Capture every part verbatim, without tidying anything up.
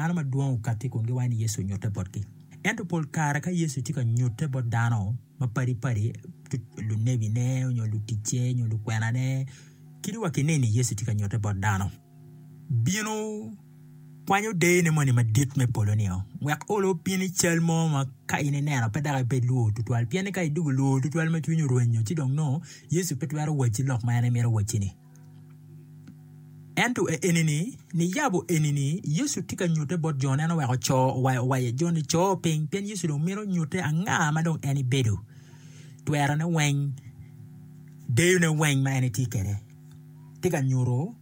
Dano madwong okati kun giwaco ni Yecu onyutte botgi. Ento pol kare ka Yecu tye ka nyutte bot dano mapadipadi, lunebine nyo luticce nyo lukwenane, kadi wa ki neni Yecu tye ka nyutte bot dano. Bino kwanyo deyone moni madit me polo-ni-o, wek olo obin i cal mo ma ka in ineno pe dok ibed lwor tutwal. Pien ni ka idwogo lwor tutwal ma cwinyi orwenyo, ci dong nongo Yecu pe twero wacci lok ma en emito wacci-ni. Ento enini, niyabo enini, Yecu tye ka nyutte bot Jon, en oweko co owaco Jon ni co piny, pien Yecu dong mito nyutte anga ma dong en ebedo, twerone weng, deyone weng ma en etye kwede, tye ka nyuto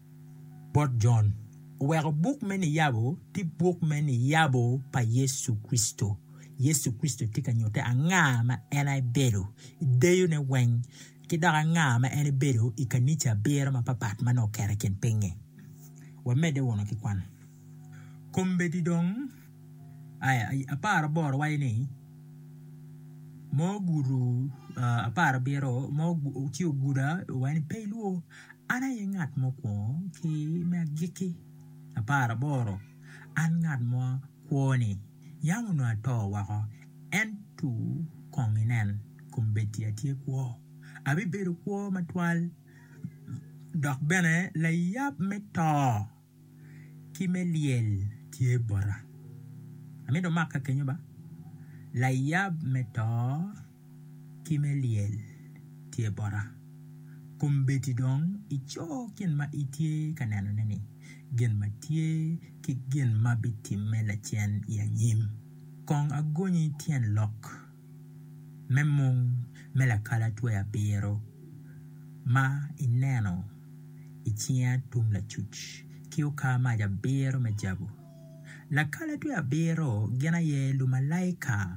bot Jon. Oweko buk me niyabo tye buk me niyabo pa Yecu Kricito. Yecu Kricito tye ka nyutte anga ma en ebedo, deyone weng, ki dok anga ma en ebedo i kanica abiro mapapat ma nongo oketo i kin piny-ngi. Wamedde wunu ki kwan. Kombeddi dong aya apar aboro waco ni ma ogudo apar abiro ma ci oguda owaco ni pe ilwor an aye ngat mukwongo ki me agikki apar aboro an ngat ma kwo-ni yam onongo ato woko ento kong inen kombeddi atye kwo abibedo kwo matwal dok bene layab me to ki me lyel tye bota. Amito mak ka kenyo ba layab me to ki me lyel tye bota. Kombeddi dong ico gin ma itye ka nenone-ni, gin ma tye ki gin ma bitimme lacen i anyim. Kong agonyi tyen lok me mung me lakalatwe abiro ma ineno i cinga tung lacuc ki okar mac abiro me jabu. Lakalatwe abiro gin aye lumalaika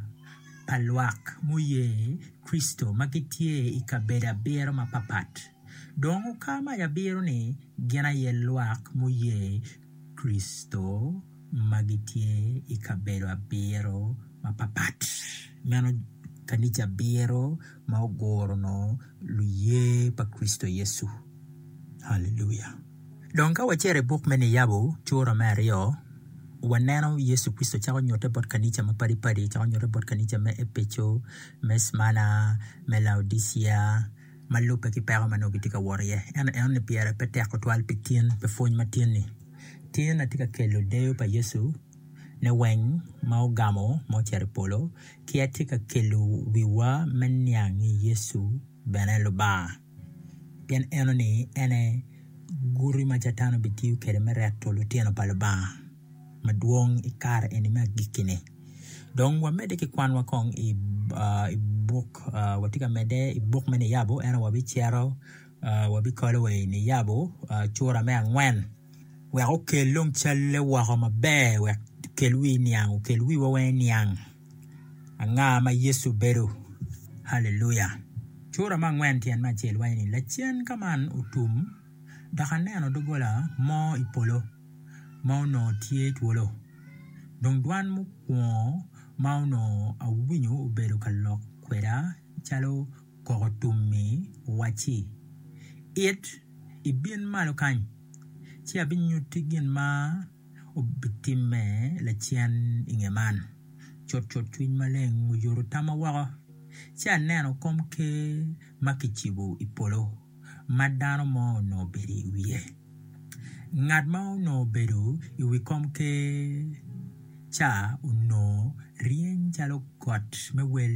pa lwak muye Kricito ma gitye i kabedo abiro mapapat. Dong okar mac abiro-ni gin aye lwak muye Kricito ma gitye i kabedo abiro mapapat. Meno kanica abiro ma oguro no luye pa Kricito Yecu. Haleluya. Dong ka wacito i buk me Niyabo cura me aryo, waneno Yecu Kricito cako nyutte bot kanica mapadipadi, cako nyutte bot kanica me Epeco, me Cmana, me Laodicia, ma lubbe ki peko ma nongo gitye ka wot iye. Ento enoni pire pe tek tutwal pi tin, pi pwony ma tin-ni. Tin atye ka kelo deyo pa Yecu ne weng ma ogamo ma ocito i polo, ki atye ka kelo wiwa me niang ni Yecu bene Lubanga. Pien enoni ene guti ma Catan obitiyo kwede me reto lutino pa Lubanga madwong i kare eni me agikki-ni. Dong wamedde ki kwanwa kong i, uh, i buk, uh, watye ka medde i buk me Niyabo, ento wabicito uh, wabikalo wa i Niyabo uh, cura me angwen wek okel dong calle woko maber wek okel wi niang, okel wiwa weng niang anga ma Yecu obedo. Haleluya. Cura me angwen tyen me acel waco ni lacen ka man otum dok aneno doggola mo i polo ma onongo tye twolo. Dong dwan mukwongo ma onongo awinyo obedo ka lok kweda calo koko tum-mi owacci, It ibin malo kany, ci abinyutti gin ma obitimme lacen i nge man. Cutcut cwiny maleng oyuto tamma woko, ci aneno komker ma kicibo i polo ma dano mo onongo obedo i wiye. Ngat ma onongo obedo i wi komker ca onongo ryeny calo got me wel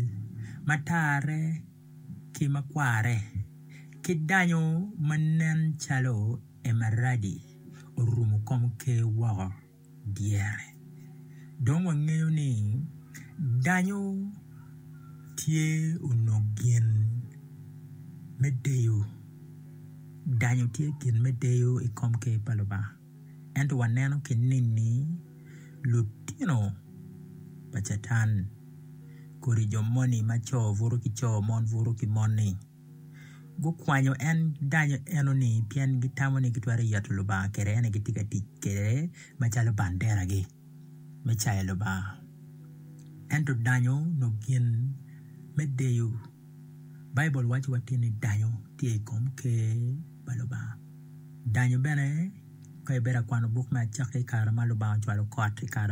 ma tarre ki makware ki danyo ma nen calo emeradi orumo komker woko dyere. Dong wangeyo ni danyo tye onongo gin me deyo. Danyo tye gin me deyo i komker pa Lubanga. Ento waneno ki nini lutino pa Catan kodi jo moni ma co buto ki co mon buto ki mon-ni gukwanyo en danyo enoni pien gitamo ni gitwero yeto Lubanga kwede ene gitye ka tic kwede macalo banderagi me cayo Lubanga. Ento danyo no gin me deyo. Baibul waco watin ni danyo tye i kom ker pa Lubanga. Danyo bene ka ibedo ka kwano buk me Acakki i kare ma Lubanga ocwalo kot i kare